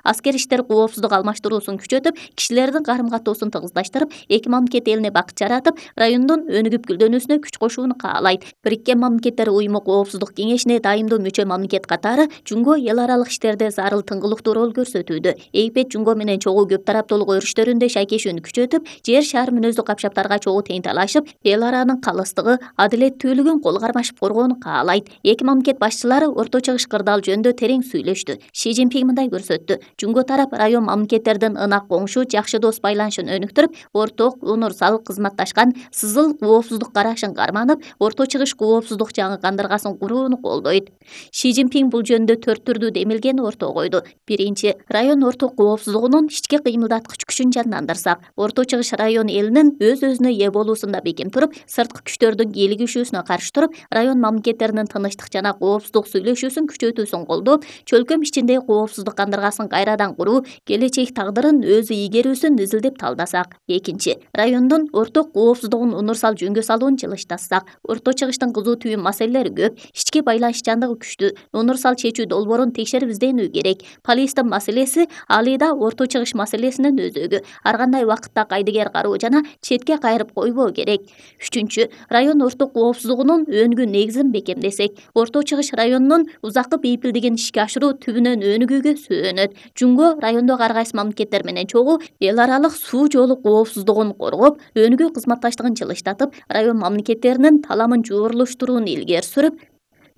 аскер иштер коопсуздук алмаштыруусун күчөтүп, кишилердин карым-каттоосун тыгыздаштырып, эки мамлекет элине бакыт жаратып, райондун өнүгүп гүлдөнүүсүнө күч кошууну каалайт. Бириккен Мамлекеттер Уюму Коопсуздук кеңешине дайымдуу мүчө мамлекет катары Жунго эл аралык иштерде зарыл тыңгылыктуу роль көрсөтүүдө. Египет Жунго менен чогуу көп тараптуулук өрүштөрүндө шайкешүүнү күчөтүп, жер шаар мүнөздүү капшаптарга чогуу тең талашып, эл аранын калыстыгы, адилеттүүлүгүн кол кармашып коргоону каалайт. Эки мамлекет башчылары Орто Чыгыш кырдаал жөнүндө терең сүйлөштү. Ши Цзиньпин мындай көрсөттү: Жунго тарап район мамлекеттердин ынак коңшу, жакшы дос байланышын өнүктүрүп, орток, унурсал, кызматташкан, сызыл коопсуздук карашын карманып, Орто Чыгыш коопсуздук жаңы кандыргасын курууну колдойт. Ши Цзиньпин бул жөнүндө 4 түрдүү демилгени ортого койду. Биринчи, район орток коопсуздугунун ички кыймылдаткыч күчүн жандандырсак, Орто Чыгыш район элинин өз-өзүнө ээ болуусунда бекем туруп, сырткы күчтөрдүн кийлигишүүсүнө каршы туруп, район мамлекеттеринин тынычтык жана коопсуздук сүйлөшүүсүн күчөтүүсүн колдоп, чөлкөм ичиндеги коопсуздук кандыргасын кайрадан куруу, келечек тагдырын өзү ийгерүүсүн изилдеп талдасак. Экинчи, райондун орток коопсуздугун унурсал жөнгө салууну жылыштатсак, Орто Чыгыштын кызуу түйүн маселелери көп, ички байланышчандыгы күчтүү, унурсал чечүү долбоорун текшерип изденүү керек. Палестин маселеси алыйда Орто Чыгыш маселесинин өзөгү, ар кандай убакытта кайдыгер кароо жана четке кайрып койбоо керек. Үчүнчү, район орток коопсуздугунун өнүгүү негизин бекемдесек, Орто Чыгыш районунун узаккы бейпилдигин ишке ашыруу түбүнөн өнүгүүгө сөөнөт. Жунго райондогу ар кайсы мамлекеттер менен чогуу эл аралык суу жолу коопсуздугун коргоп, өнүгүү кызматташтыгын жылыштатып, район мамлекеттеринин таламын жуурулуштурууну илгери сүрүп,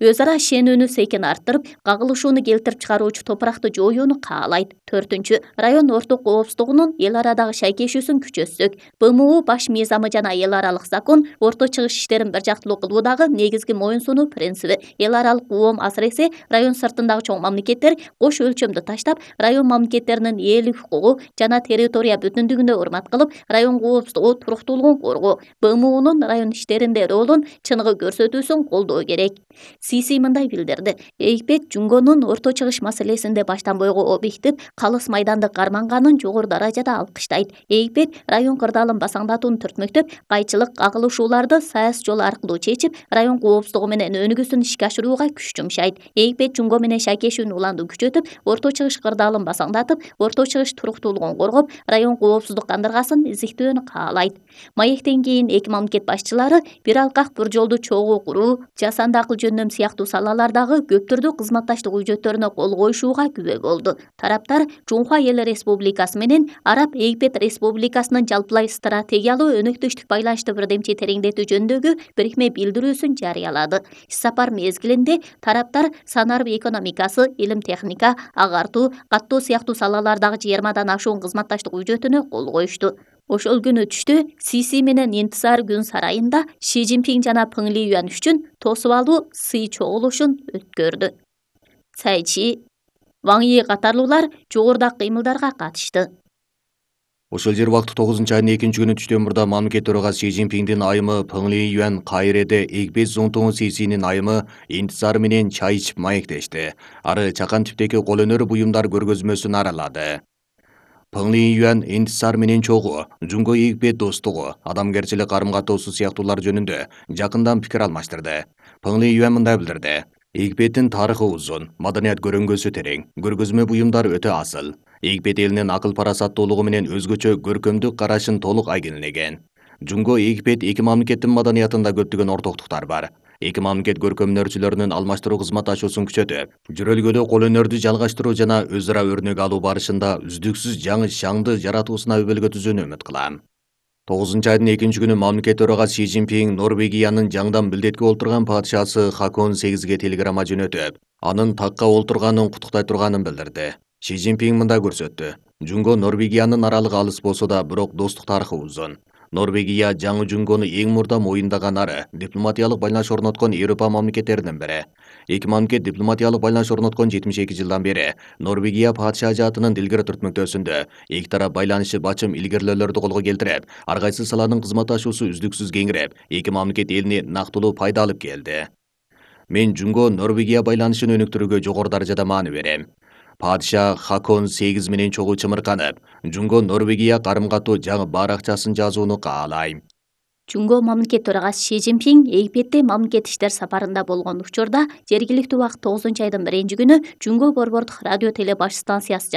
өз ара ишенүүнү секин арттырып, кагылышууну келтирип чыгаруучу топуракты жоюуну каалайт. Төртүнчү, район орток коопсуздугунун эл арадагы шайкешүүсүн күчөтсөк, БМУ баш мыйзамы жана эл аралык закон Орто Чыгыш иштерин бир жактылуу кылуудагы негизги моюн сунуу принциби. Эл аралык коом, асыресе район сыртындагы чоң мамлекеттер кош өлчөмдү таштап, район мамлекеттеринин ээлик укугу жана территория бүтүндүгүнө урмат кылып, район коопсуздугу, туруктуулугун коргоо, БМУнун район иштеринде ролун чыныгы көрсөтүүсүн колдоо керек. Сиси мындай билдирди: Египет Жунгонун Орто Чыгыш маселесинде баштан бойго объектив, калыс майданды карманганын жогору даражада алкыштайт. Египет район кырдаалын басаңдатууну түртмөктөп, кайчылык, кагылышууларды саясий жол аркылуу чечип, район коопсуздугу менен өнүгүүсүн ишке ашырууга күч жумшайт. Египет Жунго менен шайкешүүнү уланду күчөтүп, Орто Чыгыш кырдаалын басаңдатып, Орто Чыгыш туруктуулугун коргоп, район коопсуздук кандыргасын изиктөөнү каалайт. Маектен кийин эки мамлекет башчылары бир алкак, бир жолду чогуу куруу, жасанды акыл жөндөм сыяктуу салалардагы көп түрдүү кызматташтык үжөттөрүнө кол коюшууга күбө болду. Тараптар Жунхва Эл Республикасы менен Араб Египет Республикасынын жалпылай стратегиялуу өнөктөштүк байланышты бирдемчи тереңдетүү жөнүндөгү бирикме билдирүүсүн жарыялады. Иш сапар мезгилинде тараптар санарб экономикасы, илим техника, агартуу, каттоо сыяктуу салалардагы 20 ашуун кызматташтык үжөтүнө кол коюшту. Ошол күнү түштө Сиси менен Интисар күн сарайында Ши Цзиньпин жана Пeng Liyuan үчүн тосуп алуу сый чогулушун өткөрдү. Цай Чи, Ван Yi катарлуулар жогорудагы кыймылдарга катышты. Ошол жер убакыт 9-айдын 2-күнү түштөн мурда мамлекет төрагасы Ши Цзиньпиндин айымы Пeng Liyuan Кайреде Египет Зонтоңу Сисинин айымы Интисар менен чай ичип маектешти. Ары чакан типтеги кол өнөр буюмдар көргөзмөсүн аралады. Пeng Liyuan Интисар менен чогуу Жунго Египет достугу, адамгерчилик карым-каттоосу сыяктуулар жөнүндө жакындан пикир алмаштырды. Пeng Liyuan мындай билдирди: Египеттин тарыхы узун, маданият көрөңгөсү терең, көргөзмө буюмдар өтө асыл. Египет элинин акыл парасаттуулугу менен өзгөчө көркөмдүк карашын толук айгинелеген. Жунго Египет эки мамлекеттин маданиятында көптөгөн ортоктуктар бар. Эки мамлекет көркөмдөрчүлөрүнүн алмаштыруу кызматташуусун күчөтүп, жөрөлгөдө кол өнөрдү жалгаштыруу жана өз ара өрнөк алуу барышында үздүксүз жаңы шаңды жаратуусуна өбөлгө түзүүнү үмүт кылам. 9-айдын 2-күнү мамлекет төрагасы Ши Цзиньпин Норвегиянын жаңдан билдетке олтурган падышасы Хакон 8ге телеграмма жөнөтүп, анын такка олтурганын куттуктай турганын билдирди. Ши Цзиньпин мындай көрсөттү: Жунго Норвегиянын аралыгы алыс болсо да, бирок достук тарыхы узун. Норвегия жаңы Жунгону эң мурда моюндаган ары дипломатиялык байланыш орноткон Европа мамлекеттеринин бири. Эки мамлекет дипломатиялык байланыш орноткон 72 жылдан бери Норвегия падышажатынын дилгер түртмөктөөсүндө эки тарап байланышы бачым илгерилөөлөрдү колго келтирип, ар кайсы саланын кызматташуусу үздүксүз кеңирип, эки мамлекет элине нактылуу пайда алып келди. Мен Жунго Норвегия байланышын өнүктүрүүгө жогору даражада маани берем. Падыша Хакон 8 менен чогуу чымырканып, Жунго Норвегия карым-каттоо жаңы баракчасын жазууну каалайм. Жумго мамлекет төрагасы Си Цзиньпин Египетте мамлекет иштер сапарында болгон учурда жергиликтүү убакыт 9 айдын 1-күнү Жумго борбордук радио теле баш станциясы